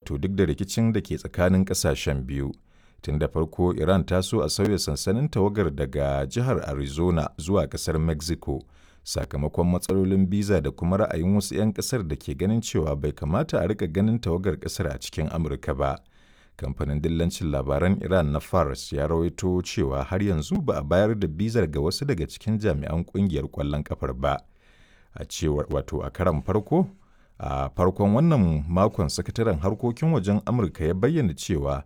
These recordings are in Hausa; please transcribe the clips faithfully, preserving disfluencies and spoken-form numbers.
Wato duk da rikicin da ke tsakanin ƙasashen biyu. Tun da farko Iran ta so a sauya sansanin tawagar daga jihar Arizona zuwa ƙasar Mexico sakamakon matsalolin biza da kuma ra'ayin wasu 'yan ƙasar da ke ganin cewa bai kamata a rika ganin tawagar ƙasar a cikin Amurka ba. Kamfanin dillancin labaran Iran na Fars ya rawaito cewa har yanzu ba a bayar da bizar ga wasu daga cikin jami'an kungiyar ƙwallon kafar ba. A cewar wato a karan farko a farkon wannan makon sakataren harkokin wajen Amurka ya bayyana cewa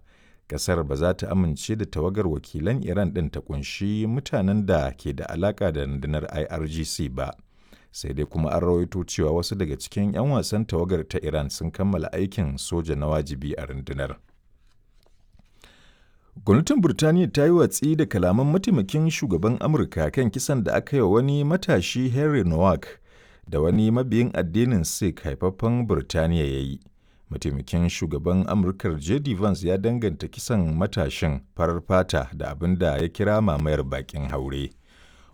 kasar ba za ta amince da tawagar wakilan Iran ɗin ta kunshi mutanen da ke da alaka da rundunar I R G C ba. Sai dai kuma an rawaito cewa wasu daga cikin 'yan wasan tawagar ta Iran sun kammala aikin soja na wajibi a rundunar. Gwamnatin Burtaniya ta yi watsi da kalaman mataimakin shugaban Amurka kan kisan da aka yi wa wani matashi Henry Nowak da wani mabiyin addinin Sikh haifaffen Burtaniya ya yi. Mataimakin shugaban Amurkar J D Vance ya danganta kisan matashin farar fata da abin da ya kira mamayar bakin haure.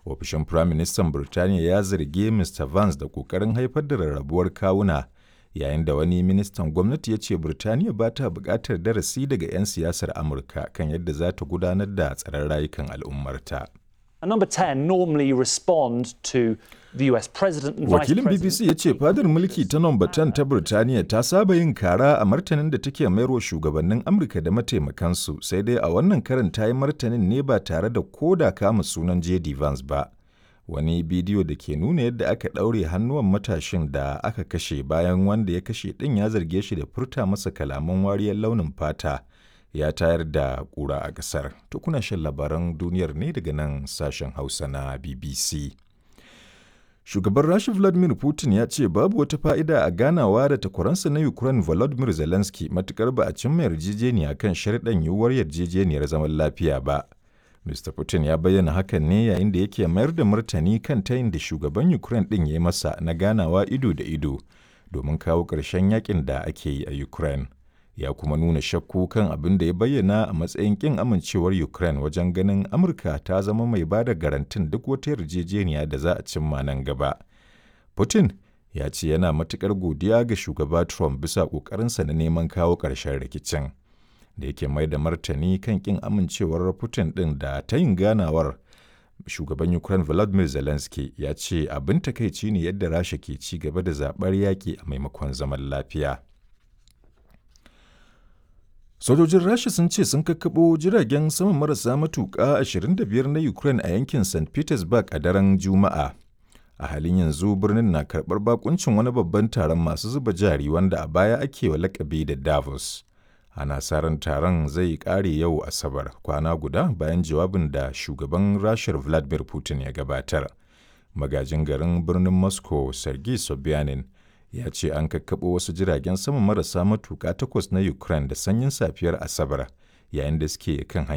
Ofishin Firaministan Burtaniya ya zargi Mister Vance da ƙoƙarin haifar da rarrabuwar kawuna, yayin da wani ministan gwamnati ya ce Birtaniya ba ta buƙatar darasi daga 'yan siyasar Amurka kan yadda za ta gudanar da tsaron rayukan al'ummarta. And number ten normally respond to the U S president and vice Wakilin president. B B C ya ce fadar mulki ta Nomba ten ta Birtaniya ta saba yin kara a martanin da take mayarwa shugabannin Amurka da mataimakansu, sai dai a wannan karin ta yi martanin ne ba tare da koda kama sunan J D Vance ba. Wani bidiyo da ke nuna yadda aka ɗaure hannuwan matashin da aka kashe bayan wanda ya kashe ɗin ya zarge shi da furta masa kalaman wariyar launin fata ya tayar da ƙura a ƙasar. To, kuna shan labaran duniyar ne daga nan sashen Hausa na B B C. Shugaban Rasha Vladimir Putin ya ce babu wata fa'ida a ganawa da takwaransa na Ukraine Volodymyr Zelensky matukar ba a cimma yarjejeniya kan sharɗan yiwuwar yarjejeniyar zaman lafiya ba. Mister Putin ya bayyana hakan ne yayin da yake mayar da martani kan tayin da shugaban Ukraine ɗin ya yi masa na ganawa ido da ido domin kawo ƙarshen yakin da ake yi a Ukraine. Ya kuma nuna shakku kan abin da ya bayyana a matsayin ƙin amincewar Ukraine wajen ganin Amurka ta zama mai ba da garantin duk wata yarjejeniya da za a cimma nan gaba. Putin ya ce yana matuƙar godiya ga shugaba Trump bisa ƙoƙarinsa na neman kawo ƙarshen rikicin. Da yake mai da martani kan ƙin amincewar Putin ɗin da tayin ganawar, shugaban Ukraine Volodymyr Zelensky ya ce abin takaici ne yadda Rasha ke ci gaba da zaɓar yaƙi a maimakon zaman lafiya. Sojojin Rasha sun ce sun kakkaɓo jiragen sama marasa matuƙa ashirin da biyar na Ukraine a yankin Saint Petersburg a daren Juma'a. A halin yanzu birnin na karɓar bakuncin wani babban taron masu zuba jari wanda a baya ake wa lakabi da Davos. Ana sa ran taron zai ƙare yau Asabar, kwana guda bayan jawabin da shugaban Rashar Vladimir Putin ya gabatar. Magajin garin birnin Moscow Sergei Sobyanin ya ce an kakkaɓo wasu jiragen sama marasa matuƙa takwas na Ukraine da sanyin safiyar Asabar yayin da suke kan hanyar